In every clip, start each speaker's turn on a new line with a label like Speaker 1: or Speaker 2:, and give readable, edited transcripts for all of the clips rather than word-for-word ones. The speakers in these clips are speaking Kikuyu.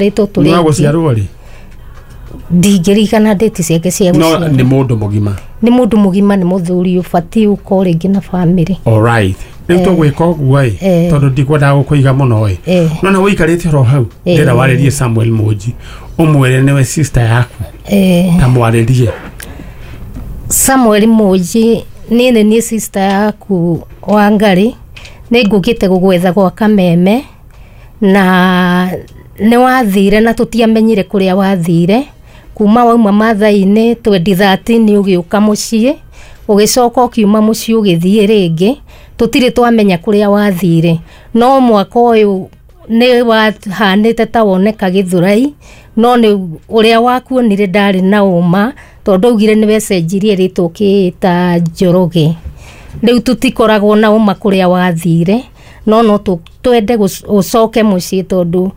Speaker 1: Rĩtwo
Speaker 2: Nĩ
Speaker 1: tũrĩ
Speaker 2: wa
Speaker 1: aingĩ.
Speaker 2: Gũciarwo rĩ?
Speaker 1: Ndingĩririkana ndĩti ciake cia
Speaker 2: No
Speaker 1: gũciarwo.
Speaker 2: nĩ mũndũ mũgima?
Speaker 1: Nĩ mũndũ mũgima, nĩ mũthuri ũbatiĩ ũkorwo rĩngĩ na bamĩrĩ.
Speaker 2: Alright, rĩu tũgwĩka ũguo ĩ, tondũ ndikwendaga gũkũiga mũno ĩ, no na ũikarĩte oro hau, ndĩrenda warĩrie Samuel Mũnji, ũmwĩre nĩwe sister yaku, ta mwarĩrie.
Speaker 1: Samuel Mũnji, niĩ nĩ niĩ sister yaku Wangari, nĩ ngũkĩte gũgwetha gwa Kameme na nĩ wathire na tũtiamenyire kũrĩa wathire. Kuma wauma Mathai-inĩ 2013 ũgĩũka mũciĩ, ũgĩcoka ũkiuma mũciĩ ũgĩthiĩ rĩngĩ, tũtirĩ twamenya kũrĩa wathire. No mwaka ũyũ nĩ wahanĩte ta woneka Gĩthũrai, no nĩ ũrĩa wakuonire ndarĩ na ũma, tondũ augire nĩ wecenjirie rĩtwa ũkĩĩta Njoroge. Rĩu tũtikoragwo na ũma kũrĩa wathire, no twende ũcoke mũciĩ, tondũ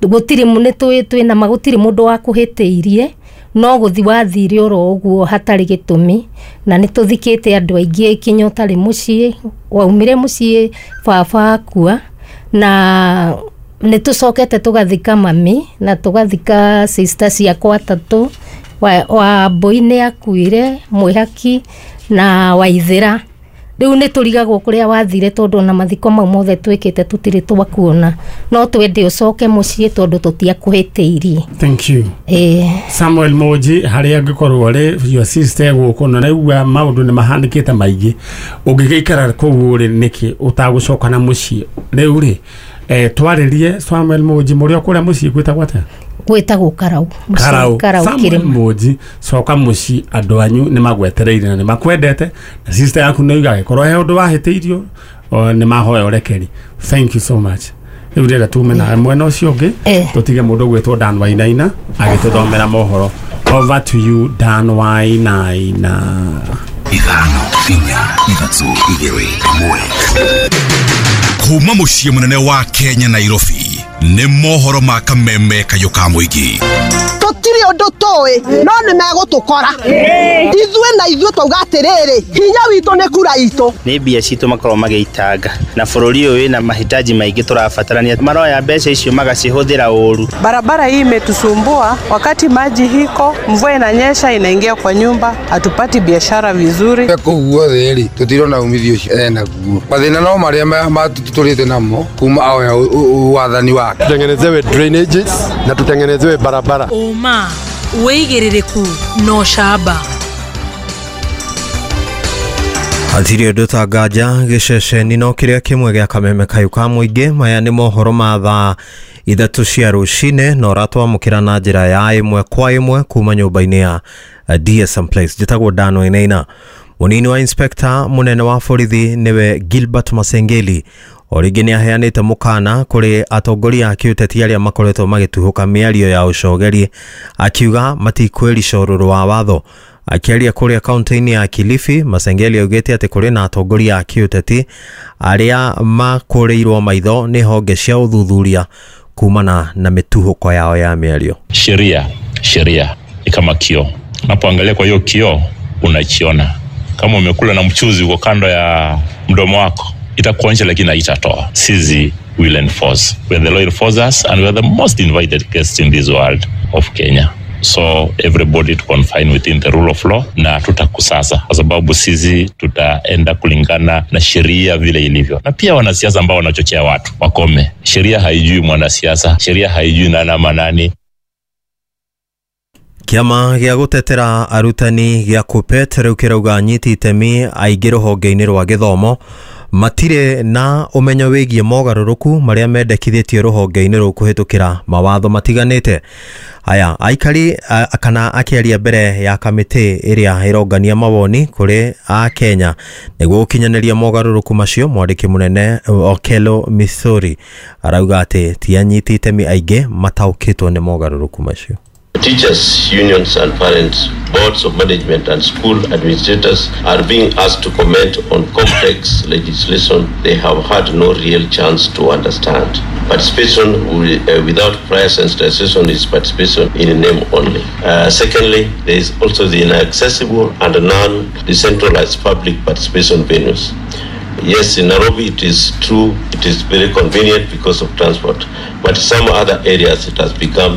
Speaker 1: gũtirĩ nĩ twĩna ma gũtirĩ mũndũ wakũhĩtĩirie, no gũthi wathire oro ũguo hatarĩ gĩtũmi. Na nĩ tũthikĩte andũ aingĩ kinya ũtarĩ mũciĩ. Waumire mũciĩ baba akua, na nĩ tũcokete tũgathika mami na tũgathika sister ciakwa atatũ. Wa Mbũi nĩ akuire, Mwĩhaki na Waithĩra. Rĩu nĩ tũrigagwo kũrĩa wathire, tondũ ona mathiko mau mothe twĩkĩte tũtirĩ twakuona. No twende ũcoke mũciĩ, tondũ tũtiakũhĩtĩirie.
Speaker 2: Thank you.
Speaker 1: Ĩĩ.
Speaker 2: Samuel Moji, harĩa angĩkorwo rĩ, your sister gũkũ na naigua maũndũ nĩ mahanĩkĩte maingĩ, ũngĩgĩikara kũu rĩ nĩkĩ ũtagũcoka na mũciĩ rĩu rĩ? Twarĩrie Samuel Moji, mũrĩ o kũrĩa mũciĩ gwĩtagwo atĩa?
Speaker 1: Gwĩtagwo Karau. Mũciĩ
Speaker 2: Karau.
Speaker 1: Karau.
Speaker 2: Samuel
Speaker 1: Kĩrĩma.
Speaker 2: Moji, coka mũciĩ, andũ anyu nĩ magwetereire na nĩ makwendete, na sister yaku nĩ uga agĩkorwo he ũndũ wahĩtĩirio nĩ mahoya ũrekeri. Thank you so much. Rĩu ndĩrenda tume nawe mwena ũcio ũngĩ, tũtige mũndũ ũgwĩtwo Dan Wainaina agĩtũthomera mohoro. Over to you, Dan Wainaina.
Speaker 3: 5, 4, 3, 2, 1. Kuma mũciĩ mũnene wa Kenya, Nairobi, nĩ mohoro ma Kameme kayũ ka mũingĩ.
Speaker 4: Tũtirĩ ũndũ tũĩ, no nĩ megũtũkora ithuĩ, na ithuĩ twauga atĩrĩrĩ, hinya witũ nĩ kura itũ.
Speaker 5: Nĩ mbia citũ makorwo magĩitanga, na bũrũri ũyũ wĩna mahitaji maingĩ tũrabatarania, maroya mbeca icio magacihũthĩra ũru.
Speaker 6: Barabara hii imetusumbua, wakati maji hiko, mvua inanyesha inaingia kwa nyumba, hatupati biashara vizuri.
Speaker 7: Kũu guothe rĩ, tũtirona umithio ũcio enaguo. Mathĩna no marĩa tũtũrĩte namo kuma aoya wathani wake.
Speaker 8: Tutengenezewe drainages na tutengenezewe barabara.
Speaker 9: Ũma, wĩigĩrĩrĩku na ũcamba.
Speaker 10: Hatirĩ ũndũ ta nganja gĩceceni no kĩrĩa kĩmwe gĩa Kameme kayũ ka mũingĩ. Maya nĩ mohoro ma thaa 3 cia rũcinĩ, na ũratwamũkĩra na njĩra ya ĩmwe kwa ĩmwe kuma nyũmba-inĩ ya DSM Place. Njĩtagwo Dan Wainaina. Mũnini wa inspector mũnene wa borithi, nĩwe Gilbert Masengeli, o rĩngĩ nĩ aheanĩte mũkana kũrĩ atongoria a kĩũteti arĩa makoretwo magĩtuhũka mĩario ya ũcogeri, akiuga matikwĩrica ũrũrũ wa watho. Akĩaria kũrĩa kaunti-inĩ ya Kilifi, Masengeli augĩte atĩ kũrĩ na atongoria a kĩũteti arĩa makũrĩirwo maitho nĩ honge cia ũthuthuria kumana na mĩtuhũko yao ya mĩario.
Speaker 11: Sheria, sheria ni kama kioo. Unapoangalia kwa hiyo kioo unachiona. Kama umekula na mchuzi uko kando ya mdomo wako, itakuonyesha lakini haitatoa. Sisi will enforce. We are the law enforcers and we are the most invited guests in this world of Kenya. So everybody to confine within the rule of law, na tutakusasa kwa sababu sisi tutaenda kulingana na sheria vile ilivyo. Na pia wanasiasa ambao wanachochea watu wakome. Sheria haijui mwanasiasa, sheria haijui nani ama nani.
Speaker 10: Kĩama gĩa gũtetera arutani gĩa KUPPET rĩu kĩrauga anyiti itemi aingĩ rũhonge-inĩ rwa gĩthomo matirĩ na ũmenyo wĩgiĩ mogarũrũku marĩa mendekithĩtio rũhonge-inĩ rũu kũhĩtũkĩra mawatho matiganĩte. Aya aikari kana akĩaria mbere ya kamĩtĩ ĩrĩa ĩrongania mawoni kũrĩ a Kenya nĩguo gũkinyanĩria mogarũrũku macio, mwandĩki mũnene Okello Mithuri arauga atĩ ti anyiti itemi aingĩ mataũkĩtwo nĩ mogarũrũku macio.
Speaker 12: Teachers, unions and parents, boards of management and school administrators are being asked to comment on complex legislation they have had no real chance to understand. Participation without prior sensitization is participation in name only. Secondly, there is also the inaccessible and non-decentralized public participation venues. Yes, in Nairobi it is true, it is very convenient because of transport, but some other areas it has become